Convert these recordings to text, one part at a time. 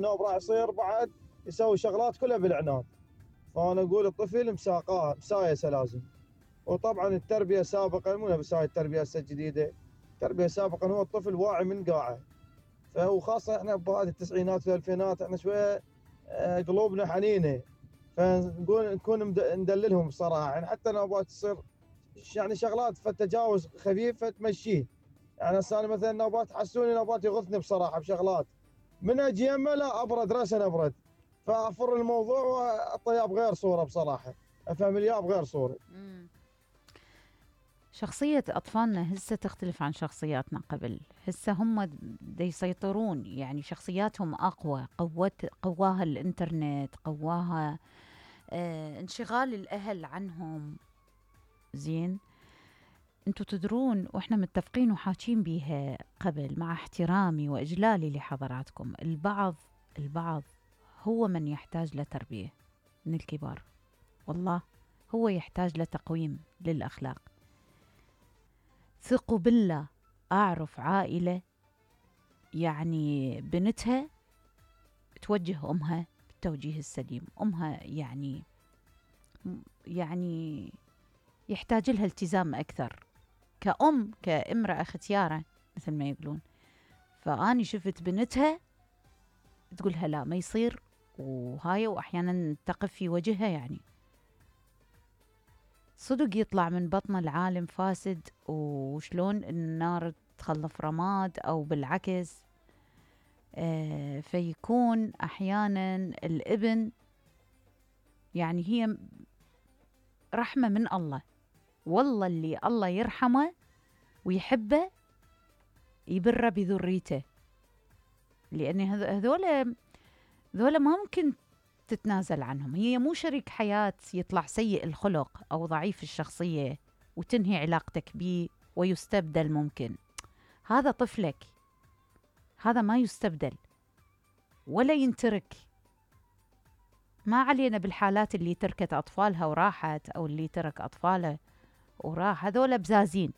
النوب راح يصير بعد يسوي شغلات كلها بالعناد. فأنا أقول الطفل مسايسة لازم. وطبعا التربية سابقا مو نفس هاي التربية هسه الجديدة. التربية سابقا هو الطفل واعي من قاعه، فهو خاصة احنا بهذه التسعينات والألفينات احنا شوية قلوبنا حنينة، فنقول نكون ندللهم بصراحة. يعني حتى نوبات تصير يعني شغلات فتجاوز خفيف فتمشيه. يعني هسه انا مثلا نوبات حسوني، نوبات يغثني بصراحة بشغلات من اجي يمه لا ابرد راسا ابرد، فافر الموضوع واعطيه بغير صورة بصراحة، افهم اياه بغير صورة. شخصية أطفالنا هسه تختلف عن شخصياتنا قبل. هسه هم دا يسيطرون، يعني شخصياتهم أقوى، قواها الإنترنت، قواها انشغال الأهل عنهم. زين، انتوا تدرون واحنا متفقين وحاكين بيها قبل مع احترامي وإجلالي لحضراتكم، البعض هو من يحتاج لتربية من الكبار. والله هو يحتاج لتقويم للأخلاق. ثقوا بالله، أعرف عائلة يعني بنتها توجه أمها بالتوجيه السليم. أمها يعني يحتاج لها التزام أكثر كأم، كامرأة ختيارة مثل ما يقولون. فأني شفت بنتها تقولها لا ما يصير، وهاي وأحيانا تقف في وجهها. يعني صدق يطلع من بطن العالم فاسد، وشلون النار تخلف رماد أو بالعكس. فيكون أحيانا الابن يعني هي رحمة من الله. والله اللي الله يرحمه ويحبه يبره بذريته، لأن هذول ما ممكن تتنازل عنهم. هي مو شريك حياة يطلع سيء الخلق أو ضعيف الشخصية وتنهي علاقتك بيه ويستبدل. ممكن هذا طفلك، هذا ما يستبدل ولا ينترك. ما علينا بالحالات اللي تركت أطفالها وراحت، أو اللي ترك أطفاله وراح، هذول بزازين.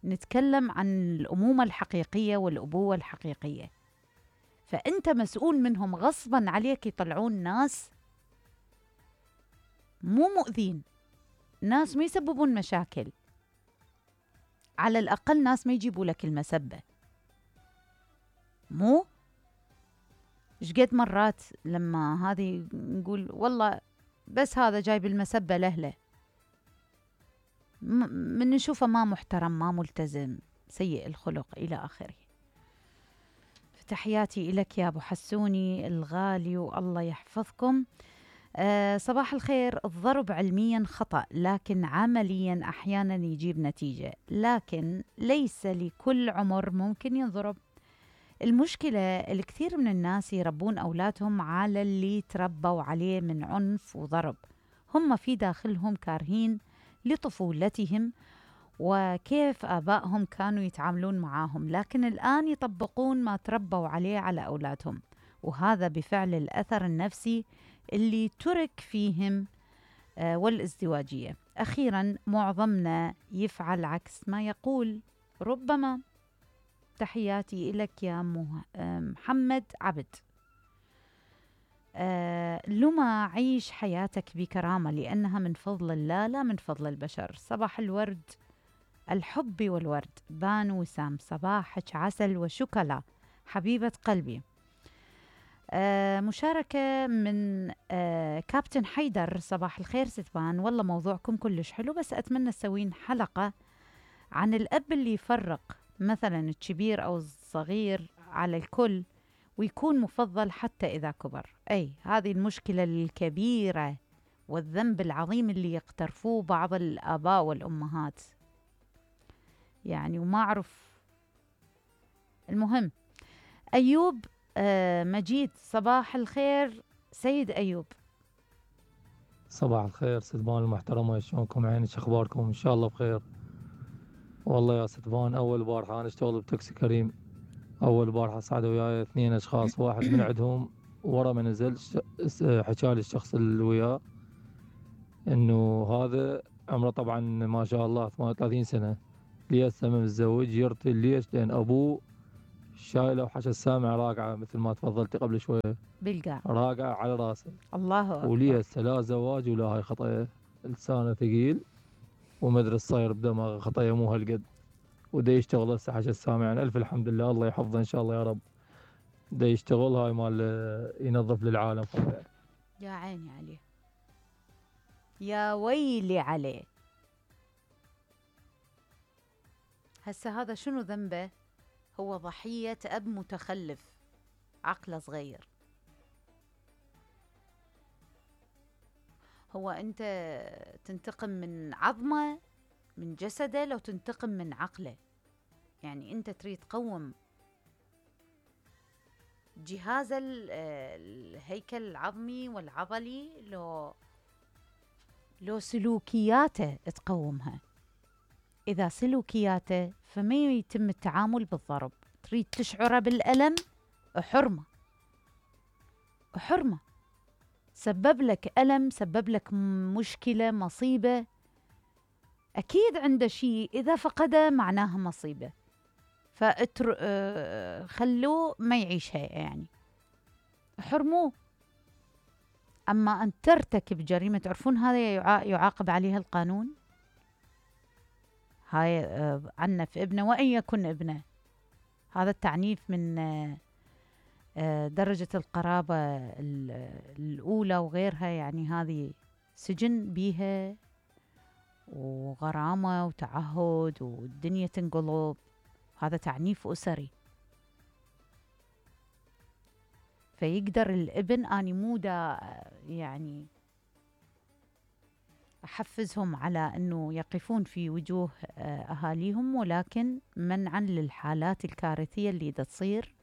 نتكلم عن الأمومة الحقيقية والأبوة الحقيقية. فأنت مسؤول منهم غصباً عليك. يطلعون ناس مو مؤذين، ناس ما يسببون مشاكل، على الأقل ناس ما يجيبوا لك المسبة. مو شقد مرات لما هذه نقول والله بس هذا جايب المسبة لأهله، من نشوفه ما محترم، ما ملتزم، سيء الخلق إلى آخره. فتحياتي إلك يا أبو حسوني الغالي، والله يحفظكم. صباح الخير. الضرب علميا خطأ، لكن عمليا أحيانا يجيب نتيجة، لكن ليس لكل عمر ممكن ينضرب. المشكلة الكثير من الناس يربون أولادهم على اللي تربوا عليه من عنف وضرب. هم في داخلهم كارهين لطفولتهم وكيف آبائهم كانوا يتعاملون معاهم، لكن الآن يطبقون ما تربوا عليه على أولادهم، وهذا بفعل الأثر النفسي اللي ترك فيهم والازدواجية. أخيرا معظمنا يفعل عكس ما يقول ربما. تحياتي إلك يا محمد عبد. لما عيش حياتك بكرامة، لأنها من فضل الله لا من فضل البشر. صباح الورد، الحب والورد. بان وسام، صباحك عسل وشوكولا حبيبة قلبي. مشاركة من كابتن حيدر، صباح الخير ستبان، والله موضوعكم كلش حلو، بس أتمنى تسوين حلقة عن الأب اللي يفرق مثلا الكبير أو الصغير على الكل ويكون مفضل حتى إذا كبر. أي هذه المشكلة الكبيرة والذنب العظيم اللي يقترفوه بعض الآباء والأمهات. يعني وما أعرف. المهم أيوب مجيد، صباح الخير سيد أيوب. صباح الخير ستبان المحترمة، شلونكم؟ عينك أخباركم؟ إن شاء الله بخير. والله يا ستبان أول بارحة أنا أشتغل بتاكسي كريم. أول بارحة صعدوا وياي 2 أشخاص، واحد من عندهم ورا ما نزل حكالي الشخص اللي وياه إنه هذا عمره طبعا ما شاء الله 38 سنة، ليش متزوج، يرطي ليش؟ لأن أبوه شايله وحشى السامع راقعه مثل ما تفضلتي قبل شويه، بالقاع. راقعه على راسه. الله أكبر. وليها هسه لا زواج ولا هاي خطيه، لسانه ثقيل ومدري الصاير بدماغه خطيه مو هالقد. ودا يشتغل هسه حشى السامع، يعني الف الحمد لله، الله يحفظه ان شاء الله يا رب. دا يشتغل هاي مال ينظف للعالم خطيه. يا عيني عليه، يا ويلي عليه. هسه هذا شنو ذنبه؟ هو ضحية أب متخلف عقله صغير. هو أنت تنتقم من عظمه من جسده لو تنتقم من عقله؟ يعني أنت تريد تقوم جهاز الهيكل العظمي والعضلي لو سلوكياته تقومها. إذا سلوكياته فما يتم التعامل بالضرب. تريد تشعره بالألم، حرمة حرمة. سبب لك ألم، سبب لك مشكلة، مصيبة، أكيد عنده شيء، إذا فقده معناها مصيبة. خلوه ما يعيشها، يعني حرموه. أما أن ترتكب جريمة، تعرفون هذا يعاقب عليها القانون. هاي عنف ابنه وإن يكن ابنه. هذا التعنيف من درجة القرابة الأولى وغيرها، يعني هذه سجن بيها وغرامة وتعهد والدنيا تنقلب. هذا تعنيف أسري. فيقدر الابن، أني مو دا يعني أحفزهم على أنه يقفون في وجوه أهاليهم، ولكن منعا للحالات الكارثية اللي دا تصير.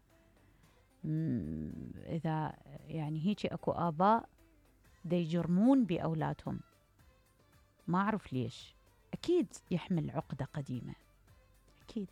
إذا يعني هيك أكو آباء دا يجرمون بأولادهم، ما أعرف ليش. أكيد يحمل عقدة قديمة، أكيد.